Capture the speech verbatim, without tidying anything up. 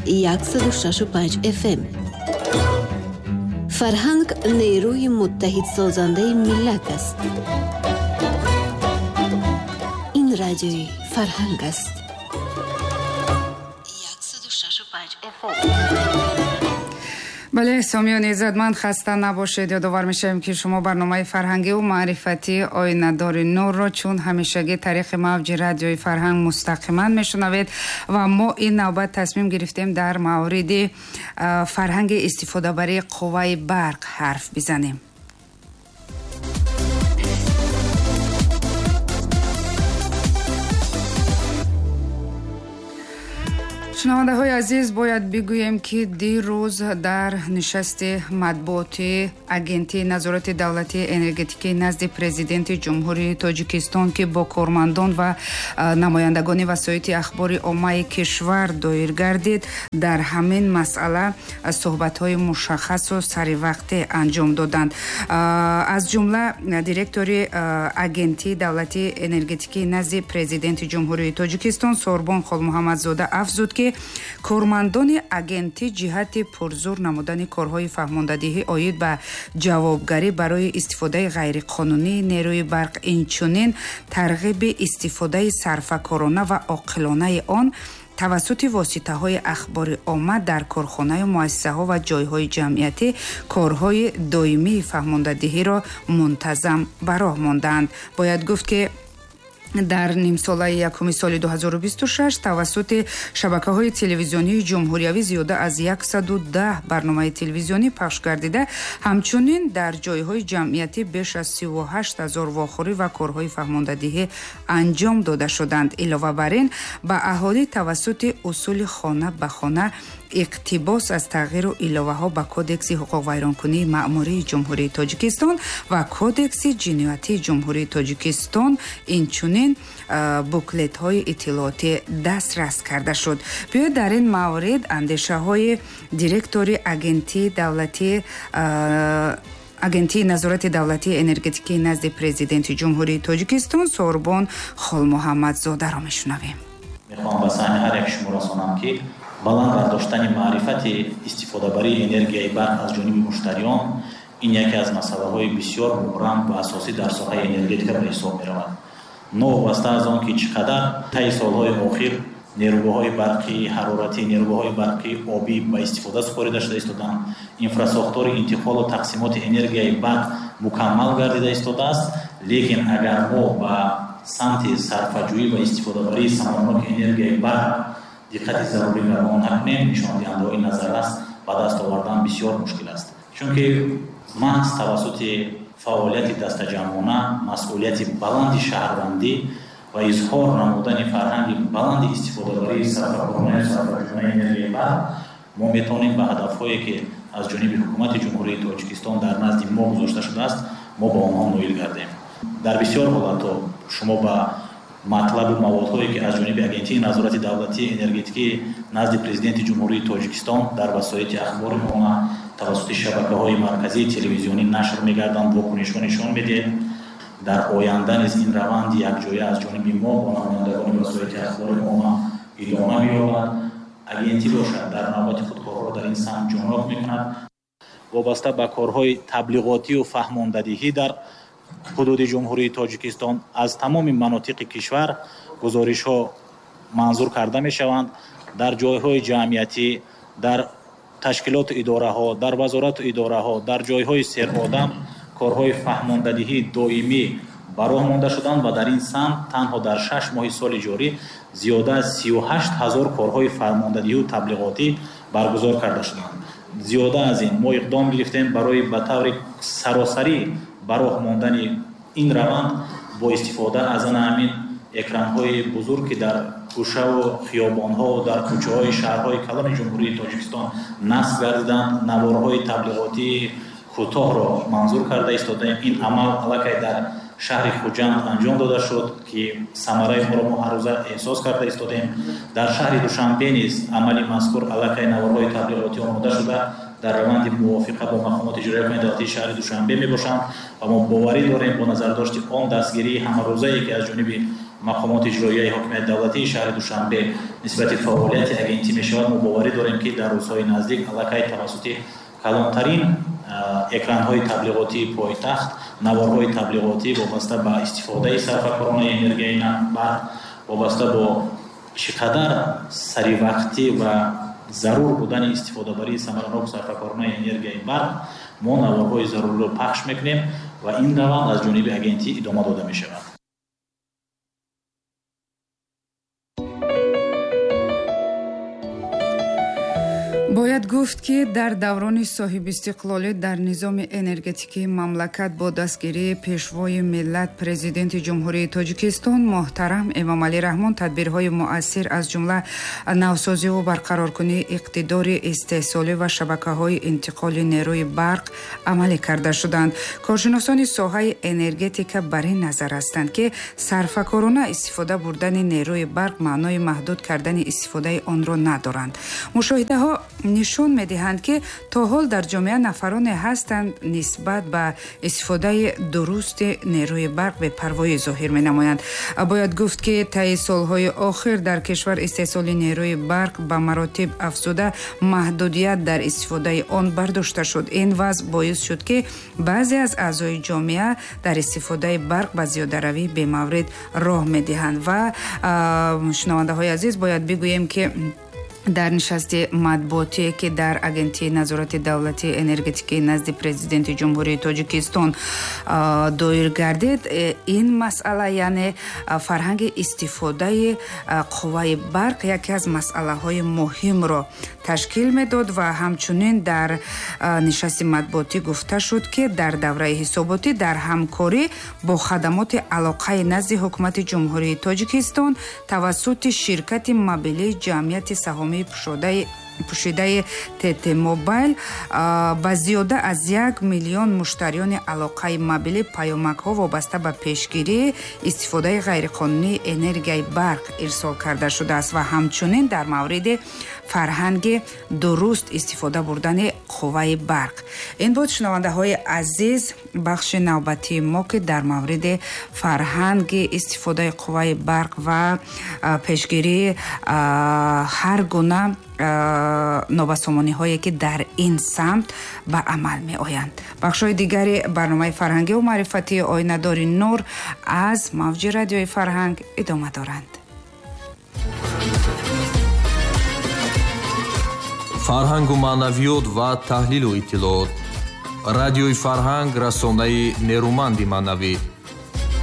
яксаду шашу панҷ эф эм. Фарҳанг нерӯи муттаҳидсозандаи миллат аст. Ин радиои Фарҳанг аст. яксаду шашу панҷ эф эм. Бале, сомиёни иззатманд, хаста набошед. Ёдовар мешавем, ки шумо барномаи фарҳангиву маърифатии Оинадори нурро чун ҳамешагӣ тариқи мавҷи радиои Фарҳанг мустақиман мешунавед ва мо ин навбат тасмим гирифтем дар мавриди фарҳанги истифодабарии қувваи барқ ҳарф бизанем. Шунавандаҳои азиз, бояд бигӯем, ки дирӯз дар нишасти матбуоти Агентии назорати давлатии энергетикии назди Президенти Ҷумҳурии Тоҷикистон, ки бо кормандон ва намояндагони васоити ахбори оммаи кишвар доир гардид, дар ҳамин масъала суҳбатҳои мушаххасу саривақтӣ анҷом доданд. Аз ҷумла директори Агентии давлатии энергетикии назди Президенти Ҷумҳурии Тоҷикистон Сорбон Холмуҳаммадзода афзуд, ки кормандони агентӣ ҷиҳати пурзур намудани корҳои фаҳмондадиҳӣ оид ба ҷавобгарӣ барои истифодаи ғайриқонунии нерӯи барқ, инчунин тарғиби истифодаи сарфакорона ва оқилонаи он тавассути воситаҳои ахбори омма дар корхонаю муассисаҳо ва ҷойҳои ҷамъиятӣ корҳои доимии фаҳмондадиҳиро мунтазам ба роҳ мондаанд. Бояд гуфт, ки дар нимсолаи якуми соли ду ҳазору бисту шаш тавассути шабакаҳои телевизионии ҷумҳуриявӣ зиёда аз яксаду даҳ барномаи телевизионӣ пахш гардида, ҳамчунин дар ҷойҳои ҷамъиятӣ беш аз сиву ҳашт ҳазор вохӯрӣ ва корҳои фаҳмондадиҳӣ анҷом дода шуданд. Илова бар ин, ба аҳолӣ тавассути усули хона ба хона иқтибос аз тағйиру иловаҳо ба Кодекси ҳуқуқвайронкунии маъмурии Ҷумҳурии Тоҷикистон ва Кодекси ҷиноятии Ҷумҳурии Тоҷикистон, инчунин буклетҳои иттилоотӣ дастрас карда шуд. Биёед дар ин маврид андешаҳои директори Агентии давлатии Агентии назорати давлатии энергетикии назди Президенти Ҷумҳурии Тоҷикистон Сорбон Холмуҳаммадзодаро мешунавем. Мехоҳам ба саҳми ҳар як шумо расонам, ки баланд бардоштани маърифати истифодабарии энергияи барқ аз ҷониби муштариён ин яке аз масъалаҳои бисёр мубрам ва асосӣ дар соҳаи энергетика ба ҳисоб меравад. Новобаста аз он ки чӣ қадар таи солҳои охир нерӯгоҳҳои барқӣ, ҳароратӣ, нерӯгоҳҳои барқӣ, обӣ ба истифода супорида шуда истодаанд, инфрасохтори интиқолу тақсимоти энергияи барқ мукаммал гардида истодааст, лекин агар мо ба самти сарфаҷӯӣ ва истифодабарии самарабахши энергияи барқ диққати зарурӣ равон накунем, нишондиҳандаҳои назаррас ба даст овардан бисёр мушкил аст. Чунки маҳз тавассути фаъолияти дастаҷамъона, масъулияти баланди шаҳрвандӣ ва изҳор намудани фарҳанги баланди истифодабарии сарфакоронаи сарфаҷӯёнаи энергияи барқ мо метавонем ба ҳадафҳое, ки аз ҷониби Ҳукумати Ҷумҳурии Тоҷикистон дар назди мо гузошта шудааст, мо ба онҳо ноил гардем. Дар бисёр ҳолатҳо шумо ба матлабу маводҳое, ки аз ҷониби Агентии назорати давлатии энергетикии назди Президенти Ҷумҳурии Тоҷикистон дар васоити ахбори омма тавассути шабакаҳои марказии телевизионӣ нашр мегарданд, вокунишҳо нишон медиҳед. Дар оянда низ ин раванд якҷоя аз ҷониби мо бо намояндагони васоити ахбори омма идома меёбад. Агентӣ бошад дар навбати худ корҳоро дар ин самт ҷонок мекунад. Вобаста ба корҳои таблиғотию фаҳмондадиҳӣ дар ҳудуди Ҷумҳурии Тоҷикистон аз тамоми манотиқи кишвар гузоришҳо манзур карда мешаванд. Дар ҷойҳои ҷамъиятӣ, дар ташкилоту идораҳо, дар вазорату идораҳо, дар ҷойҳои серодам корҳои фаҳмондадиҳии доимӣ ба роҳ монда шуданд ва дар ин самт танҳо дар шаш моҳи соли ҷорӣ зиёда аз сию ҳашт ҳазор корҳои фаҳмондадиҳию таблиғотӣ баргузор карда шуданд. Зиёда аз ин мо иқдом гирифтем барои ба таври саросарӣ ба роҳ мондани ин раванд бо истифода аз ана ҳамин экранҳои бузург, ки дар гӯшаву хиёбонҳо, дар кӯчаҳои шаҳрҳои калони Ҷумҳурии Тоҷикистон насб гардиданд, наворҳои таблиғотии кӯтоҳро манзур карда истодаем. Ин амал аллакай дар шаҳри Хуҷанд анҷом дода шуд, ки самараи онро мо ҳаррӯза эҳсос карда истодаем. Дар шаҳри Душанбе низ амали мазкур аллакай наворҳои таблиғотӣ омода шуда дар раванди мувофиқа бо мақомоти иҷроияи давлатии шаҳри Душанбе мебошанд ва мо боварӣ дорем бо назардошти он дастгирии ҳамарӯзае, ки аз ҷониби мақомоти иҷроияи ҳокимияти давлатии шаҳри Душанбе нисбати фаъолияти агентӣ мешавад, мо боварӣ дорем, ки дар рӯзҳои наздик аллакай тавассути калонтарин экранҳои таблиғотии пойтахт наворҳои таблиғотӣ вобаста ба истифодаи сарфакоронаи энергияи барқ, вобаста бо чӣ қадар саривақтӣ ва зарур будани истифодабарии самаранок сарфакоронаи энергияи барқ мо наворҳои заруриро пахш мекунем ва ин раванд аз ҷониби агентӣ идома дода мешавад. Бояд гуфт, ки дар даврони соҳибистиқлолӣ дар низоми энергетикии мамлакат бо дастгирии пешвои миллат, президенти Ҷумҳурии Тоҷикистон муҳтарам Эмомалӣ Раҳмон тадбирҳои муассир, аз ҷумла навсозиву барқароркунии иқтидори истеҳсолӣ ва шабакаҳои интиқоли нерӯи барқ амалӣ карда шуданд. Коршиносони соҳаи энергетика бар ин назар ҳастанд, ки сарфакорона истифода бурдани нерӯи барқ маънои маҳдуд кардани истифодаи онро надоранд. Мушоҳидаҳо нишон медиҳанд, ки то ҳол дар ҷомеа нафароне ҳастанд, нисбат ба истифодаи дурусти нерӯи барқ бепарвоӣ зоҳир менамоянд. Бояд гуфт, ки таи солҳои охир дар кишвар истеҳсоли нерӯи барқ ба маротиб афзуда, маҳдудият дар истифодаи он бардошта шуд. Ин вазъ боис шуд, ки баъзе аз аъзои ҷомеа дар истифодаи барқ ба зиёдаравии бемаврид роҳ медиҳанд. Ва шунавандаҳои азиз, бояд бигӯем, ки дар нишасти матбуотие, ки дар Агентии назорати давлатии энергетикии назди президенти Ҷумҳурии Тоҷикистон доир гардид, ин масъала, яъне фарҳанги истифодаи қувваи барқ, яке аз масъалаҳои муҳимро ташкил медод. Ва ҳамчунин дар нишасти матбуотӣ гуфта шуд, ки дар давраи ҳисоботӣ дар ҳамкорӣ бо хадамоти алоқаи назди ҳукумати Ҷумҳурии Тоҷикистон тавассути ширкати мобилии ҷамъияти саҳомии пӯшидаи ТТ Мобайл ба зиёда аз як миллион муштариёни алоқаи мобилӣ паёмакҳо вобаста ба пешгирии истифодаи ғайриқонунии энергияи барқ ирсол карда шудааст ва ҳамчунин дар мавриди фарҳанги дуруст истифода бурдани қувваи барқ. Ин буд, шунавандаҳои азиз, бахши навбатии мо, ки дар мавриди фарҳанги истифодаи қувваи барқ ва пешгирии ҳар гуна нобасомониҳое, ки дар ин самт ба амал меоянд. Бахшҳои дигари барномаи фарҳангиву маърифатии Оинадори нур аз мавҷи радиои Фарҳанг идома доранд. Фарҳангу маънавиёт ва таҳлилу иттилоот. Радиои Фарҳанг, расонаи нерӯманди маънавӣ.